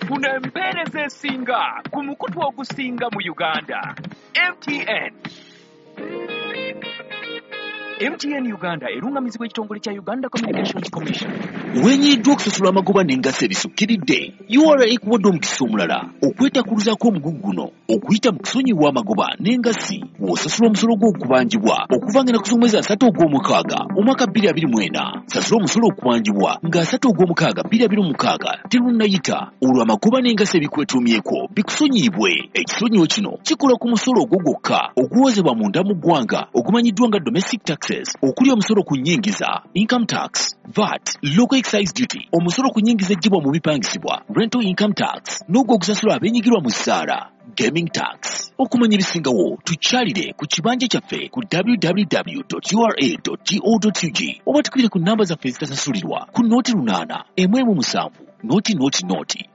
Funa empeereza esinga ku mukutu ogusinga mu Uganda. MTN. MTN Uganda erungamizibwa ekitongole kya Uganda Communications Commission. Wenyiddwa okusasula amagoba n'engassi ebisukkiridde. URA ekuwadde omukisa omulala okwetakuluzaako omugugu guno okuyita mu kusonyiwa amagoba n'engassi w'osasula omusolo gw'okubanjibwa okuva ng'ennaku z'omwezi 3 ogw'omukaaga omwaka 2024. Sasula omusolo okubanjibwa nga 3 ogw'omukaaga 2026 terunnayita, olwo amagoba n'engassi ebikwetuumyeko bikusonyiyibwe. Ekisonyiwo kino kikola ku musolo ogwo gwokka oguwozebwa munda mu ggwanga ogumanyiddwa nga domestic taxes, okuli omusolo ku nnyingiza, income tax, VAT, local excise duty, omusolo ku nnyingiza eggyibwa mu bipangisibwa, rental income tax, n'ogwo ogusasulwa abeenyigirwa mu ssaala, gaming tax. Okumanya ebisingawo tukyalire ku kibanja kyaffe ku www.ura.go.ug oba tukubire ku nnamba zaffe ezitasasulirwa ku 08 117 0 0 0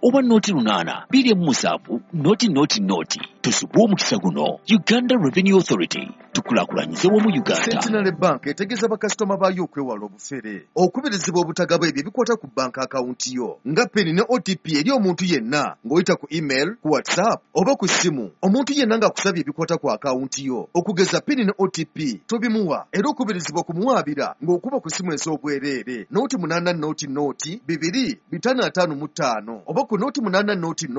oba 08 27 0 0 0. Tusubwe omukisa guno. Uganda Revenue Authority, tukulaakulanyize wamu Uganda. Centenary Bank etegeeza bakasitoma baayo okwewala obufere, okubirizibwa obutagaba ebyo ebikwata ku banka akawunti yo nga PIN ne OTP eri omuntu yenna ng'oyita ku email, ku WhatsApp oba ku ssimu. Omuntu yenna ng'akusabye ebikwata ku akawunti yo okugeza PIN ne OTP tobimuwa, era okubirizibwa kumuwaabira ng'okuba ku ssimu ez'obwereere 08 0 0 2 555 oba ku 08 0 0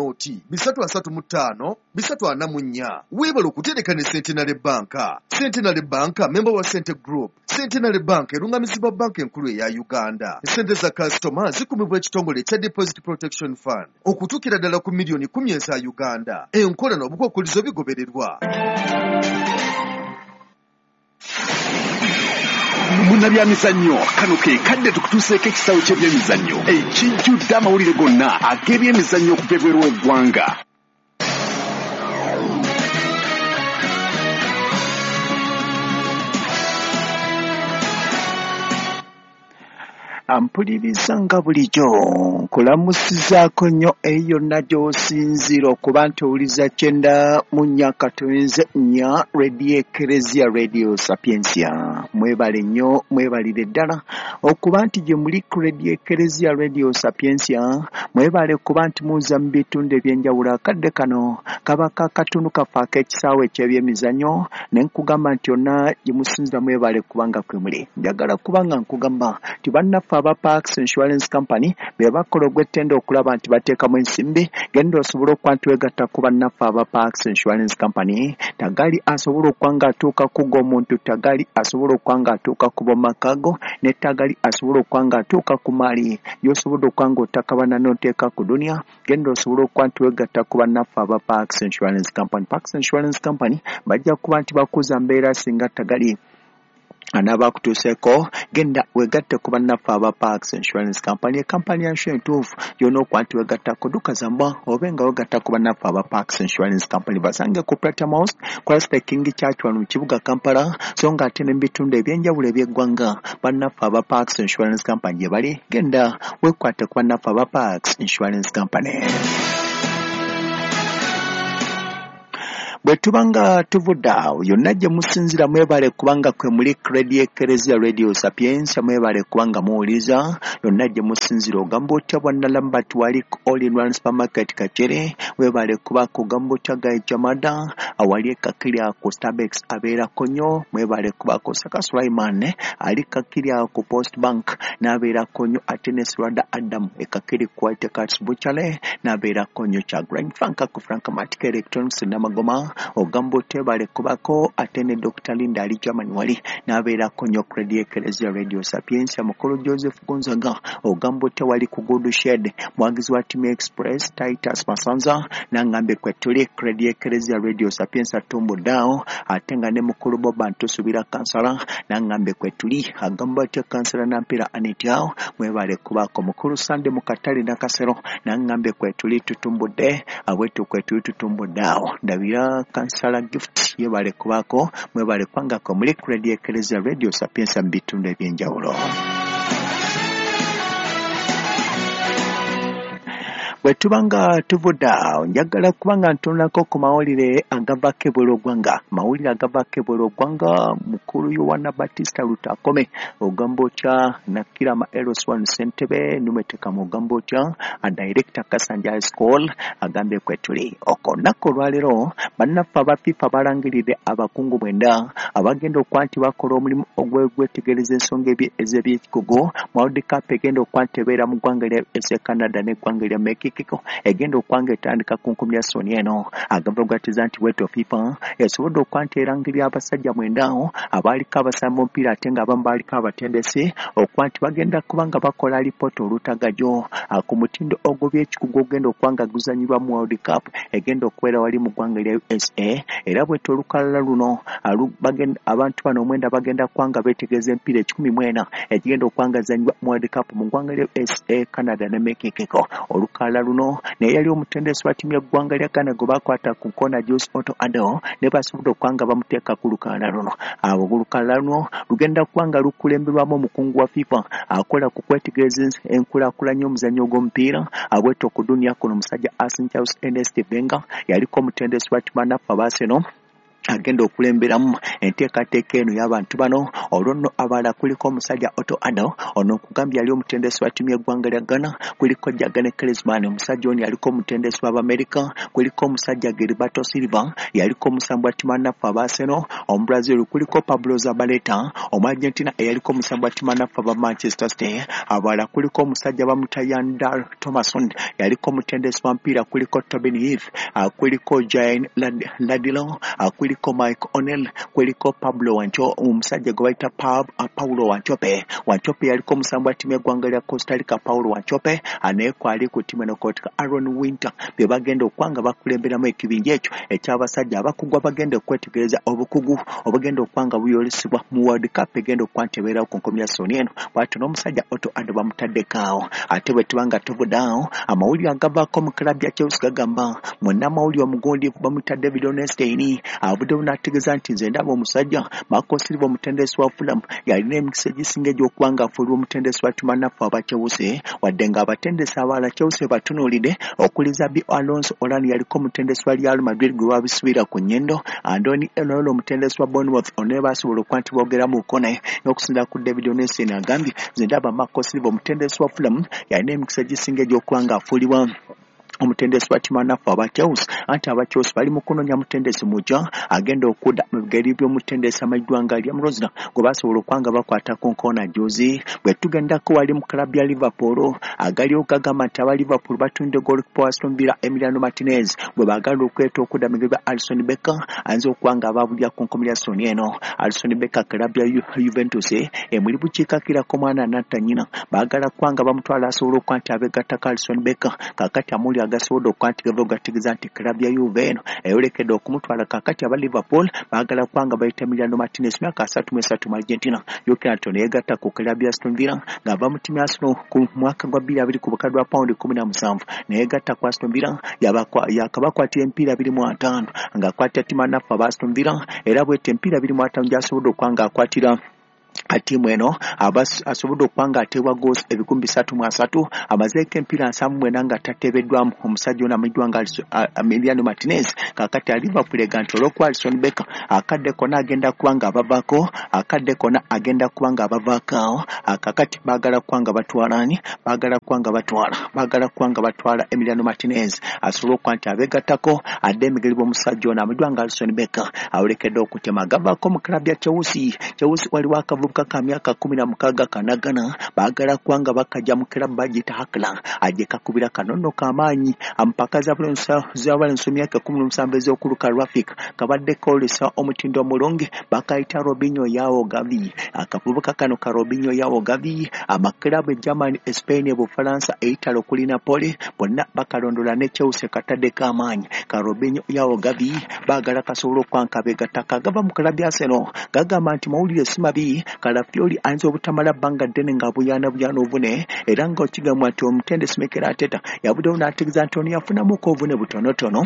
335 344. Weebale okutereka ne Centenary Bank. Centenary Bank memba wa Sente Group. Centenary Bank erungamizibwa banka enkulu eya Uganda. Sente za kasitoma zikumibwa ekitongole ekya Deposit Protection Fund okutuukira ddala ku miliyoni 10 eza Uganda. Enkola n'obukwakkulizo bigobererwa. Munnabyamizannyo, kano ke kadde tukutuuseeko ekisawo ky'ebyemizannyo ekijjudde amawulire gonna ag'ebyemizannyo okuva ebweru w'eggwanga. Ampuliriza nga bulijjo nkulamusizaako nnyo eyo yonna gy'osinziira okuba nti owuliza 94.4 Radio Ekereziya Radio Sapientia. Mwebale nnyo, mwebalire ddala okuba nti gye muli ku Radio Ekereziya Radio Sapientia. Mwebale kuba nti muza mu bitundu eby'enjawulo. Akadde kano kaba kakatundu kaffe ak'ekisaawe eky'ebyemizannyo, ne nkugamba nti yonna gye musinziira mwebale kubanga kwe muli. Njagala kubanga nkugamba nti bannaffe aba Parks Insurance Company be bakola ogw'ettendo okulaba nti bateekamu ensimbi. Genda osobole okuba nti weegatta ku bannaffe aba Parks Insurance Company. Tagali asobola okuba ng'atuuka ku g'omuntu, tagali asobola okuba ng'atuuka ku b'omumaka go, ne tagali asobola okuba ng'atuuka ku maali gy'osobodde okuba ng'otakabana n'oteeka ku duniya. Genda osobole okuba nti weegatta ku bannaffe aba Parks Insurance Company. Parks Insurance Company bajja kuba nti bakuza mbeera singa tagali anaabakutuuseeko. Genda weegatte ku bannaffe aba Parks Insurance Company, ekampani ya nsure entuufu gy'olina okuba nti weegattako. Dduka zamba obe nga weegatta ku bannaffe aba Parks Insurance Company. Basange ku Platinum House, Christ the King Church wano mu kibuga Kampala, so nga ate ne mu bitundu eby'enjawulo eby'eggwanga bannaffe aba Parks Insurance Company gye bali. Genda weekwate ku bannaffe aba Parks Insurance Company. Bwe tuba nga tuvudde awo yonna gye musinziira mwebale kubanga kwe muli Radio Ekereziya Radio Sapientia, mwebale kubanga muwuliriza yonna gye musinziira. Ogamba otya bwa Nalambert wali ku All in One Supermarket Kakere, webale kubaako. Ogamba otya Guy Jamada awali e Kakiri ku Starbucks abeerako nnyo, mwebale kubaako. Saka Sulaiman ali Kakiri ku Post Bank n'abeerako nnyo, ate ne Sirwada Adam e Kakiri ku White Cats Butchery n'abeerako nnyo. Kyagulanyi Frank ku Frank Matic Electronics Namagoma, ogamba otebale kubako. Ate ne Dr. Linda ali Germany wali n'abeerako nnyo ku Radio Ekereziya Radio Sapientia. Mukulu Joseph Gonzaga ogamba otya wali ku Good Shed, mwagizi wa Team Express Titus Masanza nangambye kwe tuli ku Radio Ekereziya Radio Sapientia tumbuddeawo. Ate nga ne mukulu Boba ntusubira kansala nangambye kwe tuli. Agamba otya kansala Nampira Anitiawo, mwebale kubaako. Mukulu Sande mu katale Nakasero nangambye kwe tuli tutumbudde abwetu kwe tuli tutumbuddeawo. Ndabira kansala Gift yebale kubaako, mwebale kubangako muli ku Radio Ekereziya Radio Sapientia mu bitundu eby'enjawulo. Bwe tuba nga tuvudde awo, njagala kuba nga ntunulako ku mawulire agavaako ebweru w'eggwanga. Mawulire agavaako ebweru w'eggwanga, mukulu Yowana Batista Lutakome ogamba otya, Nakirama Eros One Ssentebe Numetekamu ogamba otya, Director Kasanja High School agambye kwe tuli. Olunaku olwaleero bannaffe aba FIFA balangiridde abakungu 9 abagenda okuba nti bakola omulimu ogw'okwetegereza ensonga ez'ebyekikugu mu World Cup egenda okuba nti ebeera mu ggwanga lya USA, Canada n'eggwanga lya Mexico egenda okuba nga etandika ku nkumi ya soni eno. Agava gatiza nti bwetyo FIFA esobodde okuba nti erangirira abasajja 9 abaaliko abasamba omupiira ate nga abamu baaliko abatendesi okuba nti bagenda kuba nga bakola alipoota olutagajo ku mutindo ogw'ebyekikugu ogenda okuba nga guzannyibwa mu World Cup egenda okubeera wali mu ggwanga lya USA. Era bwetyo olukalala luno abantu bano 9 bagenda kuba nga beetegereza emipiira 14 egigenda okuba nga zizannyibwa mu World Cup mu ggwanga lya USA, Canada ne Mexico. Olukalala luno naye yali omutendesi wa ttiimu y'eggwanga lya Ghana gwe baakwata ku nkoona Jose Otto Addo ne basobodde okuba nga bamuteeka ku lukalala luno. Abo olukalala luno lugenda kuba nga lukulemberwamu omukungu wa FIFA akola ku kwetegereza enkulaakulanya y'omuzannyo gw'omupiira abwetyo ku dunia kuno omusajja Arsene Charles Ernest Wenger yaliko omutendesi wa ttiimu bannaffe aba Arsenal agenda okulemberamu enteekateeka eno y'abantu bano. Olwo nno abalala kuliko omusajja Otto Addo, ono nkugambye yali omutendesi wa ttiimu y'eggwanga lya Ghana, kuliko Jurgen Klinsmann, omusajja ono yaliko omutendesi w'Abamerika, kuliko omusajja Gilberto Silva yaliko omusambi wa ttiimu bannaffe aba Arsenal Omubrazil, kuliko Pablo Zabaleta Omuargentina eyaliko omusambi wa ttiimu bannaffe aba Manchester City. Abalala kuliko omusajja bamuyita Yandal Thomason yaliko omutendesi wa mpiira, kuliko Tobin Heath, kuliko Jane Ladilo, kuliko Mike O'Neill, kuliko Pablo Wancho, omusajja gwe bayita Paulo Wanchope. Wanchope yaliko omusambi wa ttiimu y'eggwanga lya Costa Rica Paulo Wanchope, naye kwali ku ttiimu eno kotika Aaron Winter be bagenda okuba nga bakulemberamu ekibinja ekyo eky'abasajja abakugu abagenda okwetegereza obukugu obugenda okuba nga buyolesebwa mu World Cup egenda okuba nti ebeerawo ku nkomi ya soni eno. Bw'atyo n'omusajja Otto Addo bamutaddeko awo. Ate bwe tuba nga tuvudde awo, amawulire agavaako mu club ya Chelsea gagamba munnamawulire omugundiivu bamuyita David Ornstein avuddewo n'ategeeza nti nze ndaba omusajja Marco Silva omutendesi wa Fulham yalina emikisa egisinga egy'okuba nga afuulibwa omutendesi wa ttiimu bannaffe aba Chelsea, wadde ng'abatendesi abalala Chelsea batunuulidde okuli Xabi Alonso Olani yaliko omutendesi wa Real Madrid gwe babisubira ku nnyindo, Andoni Iraola omutendesi wa Bournemouth ono basobola okuba nti boogeramuko naye. N'okusinziira ku David Ornstein agambye nze ndaba Marco Silva omutendesi wa Fulham yalina emikisa egisinga egy'okuba nga afuulibwa omutendesi wa ttiimu bannaffe aba Chelsea, anti aba Chelsea bali mu kunoonya mutendesi mujja agenda okudda mu bigere by'omutendesi amanyiddwa nga Liam Rosner gwe basobola okuba nga bakwata ku nkoona juzi. Bwe tugendako wali mu club ya Liverpool, agaliwo gagamba nti aba Liverpool batundde goalkeeper wa Aston Villa Emiliano Martinez gwe baagala okweta okudda mu bigere bya Alisson Becker ayinza okuba nga abaabulira ku nkomi ya soni eno. Alisson Becker club ya Juventus emuli bukiikakirako mwana anatta nnyina, baagala kuba nga bamutwala asobola okuba nti abeegattako Alisson Becker. Kaakati amawulire agasobodde okuba nti gava gategeeza nti club ya Juve eno eyolekedde okumutwala. Kaakati aba Liverpool baagala kuba nga bayita Emiliano Martinez myaka 33 mu Argentina. Jjukira nti ono yeegatta ku club ya Aston Villa ng'ava mu ttiimu ya Arsenal ku mwaka gwa 2020 ku bukadde bwa pawundi 17, neyeegatta ku Aston Villa yakabakwatira emipiira 25 ng'akwatira ttiimu bannaffe aba Aston Villa, era bw'etyo emipiira 25 gy'asobodde okuba ng'akwatira ttiimu eno asobodde okuba ng'ateebwa goals 333, amazeeko emipiira 79 nga tateebeddwamu omusajja ono amanyiddwa nga Emiliano Martinez. Kaakati Liverpool ega nti olw'okuba Alisson Becker akadde konna agenda kuba nga abavaako, akadde konna agenda kuba nga abavaako awo, kaakati baagala kuba nga batwala ani? Baagala kuba nga batwala, baagala kuba nga batwala Emiliano Martinez asobole okuba nti abeegattako adde emigeri bw'omusajja ono amanyiddwa nga Alisson Becker awolekedde okutema. Gavaako mu club ya Chelsea. Chelsea waliwo akavubuka ka myaka 16 kanagana baagala kuba nga bakajja mu club bagiyita Hakla ajje kakubira kanono k'amaanyi ampaka z'abalenzi myaka 17 ez'okuluka Rafik kabadde koolesa omutindo omulungi bakayita Robinho Yao Gavi. Akavubuka kano ka Robinho Yao Gavi amakirabu e Germany, Spain, Bufalansa, Italy okuli Napoli bonna bakalondola ne Chelsea kataddeko amaanyi. Ka Robinho Yao Gavi baagala kasobola okuba nga kabeegatta. Kagava mu club ya Arsenal gagamba nti mawulire si mabi, Kalafiori ayinza obutamala bbanga ddene ng'abuyaanabuyaana obuvune, era nga okigambwa nti omutendesi Mikel Arteta yavuddewo n'ategeeza nti ono yafunamuko obuvune butonotono.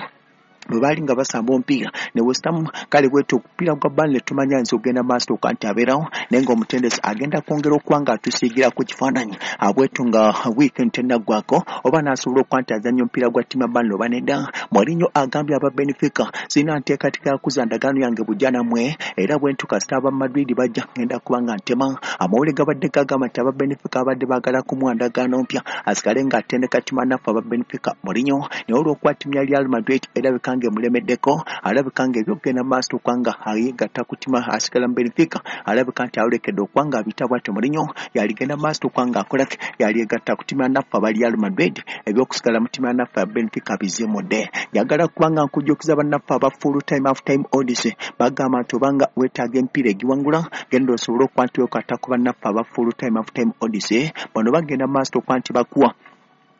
Bwe baali nga basamba omupiira ne West Ham, kale bwetyo omupiira gwa Burnley tumanya nti ogenda maaso okuba nti abeerawo, naye ng'omutendesi agenda kwongera okuba nga atusiigira ku kifaananyi abwetyo nga weekend tennaggwako oba n'asobola okuba nti azannya omupiira gwa ttiimu ya Burnley oba nedda. Mourinho agambye aba Benfica, sirina nteekateeka ya kuzza ndagaano yange bujja nammwe, era bwe ntyo kasita aba Madrid bajja ngenda kuba nga ntema. Amawulire gabadde gagamba nti aba Benfica babadde baagala kumuwa ndagaano mpya asigale ng'atendeka ttiimu naffe aba Benfica Mourinho, naye olw'okuba ttiimu ya Real Madrid erabika ng'emulemeddeko, alabika ng'ebyokugenda mu maaso okuba nga yeegatta ku ttiimu asigala mu Benfica, alabika nti ayolekedde okuba nga abiyita bw'atyo. Mourinho yaligenda mu maaso okuba ng'akola yalyegatta ku ttiimu ya naffe aba Real Madrid, ebyokusigala mu ttiimu ya naffe ya Benfica bizimudde. Njagala kuba nga nkujjukiza bannaffe aba full time half time odds, bagamba nti obanga weetaaga emipiira egiwangula, genda osobole okuba nti weekwata ku bannaffe aba full time half time odds. Bano bagenda mu maaso okuba nti bakuwa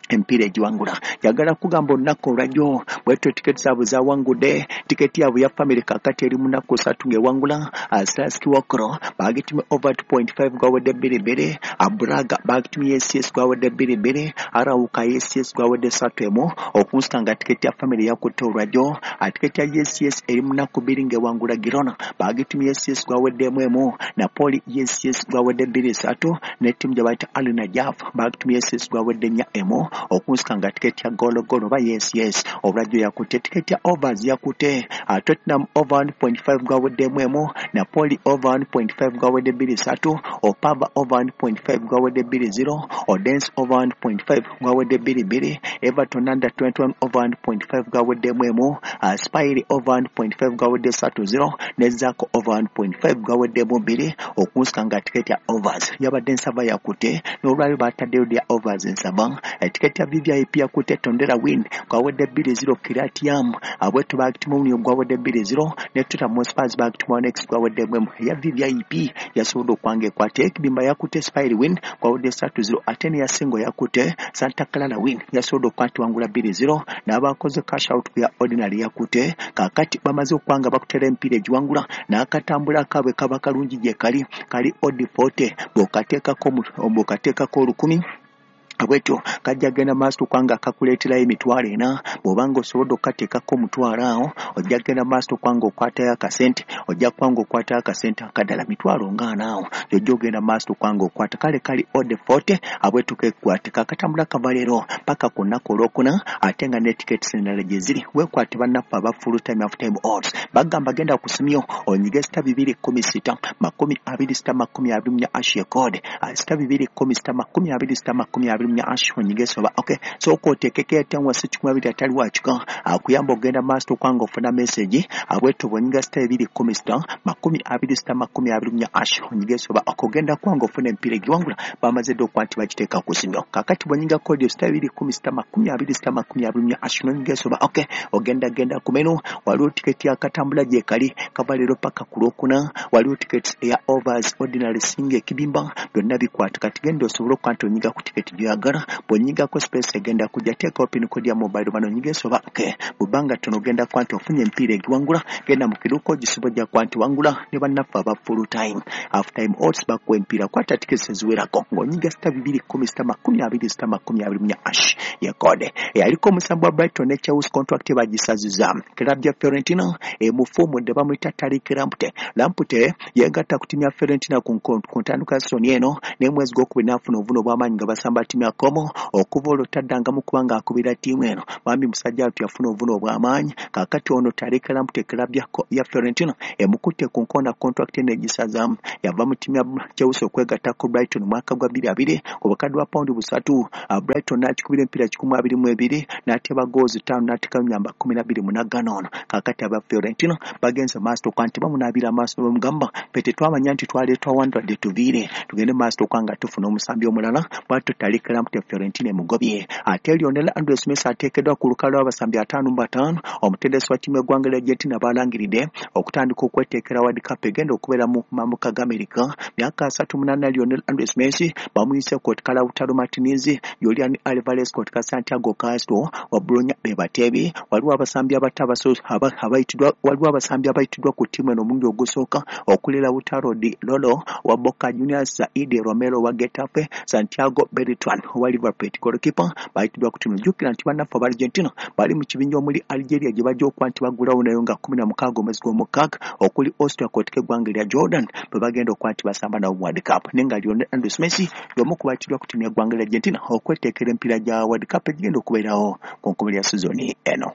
emipiira egiwangula. Njagala kugamba olunaku olwajjo bwetyo tiketi zaabwe zawangudde. Tiketi yaabwe ya family kakati eri mu nnaku 3 ng'ewangula. Slaski Wokro bagitumye over 2.5 gwawedde 2-2, Braga bagitumye yes gwawedde 2-2, Arauka yes gwawedde 3-1. Okunsika nga tiketi ya family yakutte olwajjo. Tiketi ya yes eri mu nnaku 2 ng'ewangula. Girona bagitumye yes gwawedde 1-1, Napoli yes gwawedde 2-3, ne ttiimu gye bayita Al Najaf bagitumye yes gwawedde 4-1. Okunsika nga tiketi ya golo golo oba yes olwajjo yakutte. Tiketi ya overs yakutte Tottenham over 1.5 gwawedde 1-1, Napoli over 1.5 gwawedde 2-3, Opava over 1.5 gwawedde 2-0, Odense over 1.5 gwawedde 2-2, Everton under 21 over 1.5 gwawedde 1-1, Spire over 1.5 gwawedde 3-0, ne Zako over 1.5 gwawedde 2. Okunsika nga tiketi ya overs yabadde nsaba yakutte, n'olwaliro bataddeyo lya overs nsaba. Tiketi ya VVIP yakutte Tondela win gwawedde 2-0, Kiratiam abwetu bagitimu gwawedde 2-0, ne Tottenham Hotspur bagitimu next gwawedde 1. Eya VVIP yasobodde okwanga ekwate ekibimba yakutte Spire win gwawedde 3-0, ate ne Yasingo yakutte Santa Clara win yasobodde okuba wangula 2-0, n'abakoze cash out ku ya ordinary yakutte. Kaakati bamaze okwanga bakutera emipiira egiwangula n'akatambula akaabwe kaba kalungi gye kali kali odd 40, bw'okateekako 1000 bwetyo kajja genda maaso kubanga kakuleeterayo 400,000. Bw'obanga osobolodde okukateekako 500,000 awo, ojja genda maaso kubanga okwatayo akasente, ojja kubanga okwatayo akasente akadala 40,000 awo, gy'ojja ogenda maaso kubanga okwata kale kali odd 40 abwetu kekwate kakatambula kava leero paka ku nnaku olwokuna, ate nga ne tickets endala gye ziri. Weekwate bannaffe aba full time half time odds, bagamba genda ku simu onyige *216 26 24 hash code *216 26 24 hash onyige soba. Okay, sooka oteekeko etenwa si 200 atali wakika akuyamba ogenda maaso okwanga ofuna message abwetu bwonyiga *216 26 24 hash onyige soba okugenda kwanga ofuna emipiira egiwangula bamaze dde okuba nti bagiteeka ku simu. Kakati bwonyiga code *216 26 24 hash n'onyiga soba, okay, ogenda genda ku menu, waliwo tiketi akatambula gye kali kava leero paka ku lwokuna, waliwo tiketi eya overs ordinary singa ekibimba byonna bikwata. Kati genda osobole okuba nti onyiga ku tiketi gy'oyagala, bw'onyigako space egenda kujja, teekawo pin code ya mobile money onyige soba. Okay, bw'obbanga ttono ogenda kuba nti ofunye emipiira egiwangula, genda mu kiduuka ogisiba ojja kuba nti wangula ne bannaffe aba full time half time odds bakuwa emipiira. Kwata tiketi eziwerako ng'onyiga *216 26 24 hash ye code. Eyaliko omusambi wa Brighton ne Chelsea contract bagisaziza. Club ya Fiorentina emufuumudde, bamuyita Tariq Lamptey. Lamptey yeegatta ku ttiimu ya Fiorentina ku ntandikwa ya season eno, n'emwezi gwokubiri n'afuna obuvune obw'amaanyi nga basamba ttiimu ya Como. Okuva olwo taddangamu kubanga akubira ttiimu eno. Bambi musajja wattu yafuna obuvune obw'amaanyi. Kaakati ono Tariq Lamptey club ya Fiorentina emukutte ku nkoona, contract n'egisazaamu. Yava mu ttiimu ya Chelsea okwegatta ku Brighton mu mwaka gwa 2020 ku bukadde bwa pawundi 300. Brighton n'akikubira emipiira 122 n'ateba goals 5 n'ateekamu namba 12 munaggana ono. Kaakati aba Fiorentina bagenze maaso okuba nti bamunaabira amaaso, bamugamba ffe tetwamanya nti twaleetwa wandwadde, tuviire tugende maaso okuba nga tufuna omusambi omulala. Bwatyo Tariq Lamptey Fiorentina emugobye. Ate Lionel Andres Messi ateekeddwa ku lukalu lw'abasambi 55 omutendesi wa ttiimu y'eggwanga lya Argentina balangiridde okutandika okweteekera World Cup egenda okubeera mu mambuka ga Amerika. Myaka 38 Lionel Andres Messi bamuyise kotika Lautaro Martinez, Julian Alvarez kotika Santiago Castro wa Bologna be bateebi. Waliwo abasambi abato abayitiddwa, waliwo abasambi abayitiddwa ku ttiimu eno omulundi ogusooka okuli Lautaro Di Lolo wa Boca Juniors, Saidi Romero wa Getafe, Santiago Beltran owa Liverpool goalkeeper bayitiddwa ku ttiimu. Jjukira nti bannaffe aba Argentina bali mu kibinja omuli Algeria gye bajja okuba nti baggulawo nayo nga 16 omwezi gw'omukaaga, okuli Austria kw'oteeka eggwanga erya Jordan bwe bagenda okuba nti basamba nabo mu World Cup. Naye nga Lionel Andres Messi y'omu ku bayitiddwa ku ttiimu y'eggwanga erya Argentina okweteekera emipiira gya World Cup egigenda okubeerawo ku nkomerero ya sizoni eno.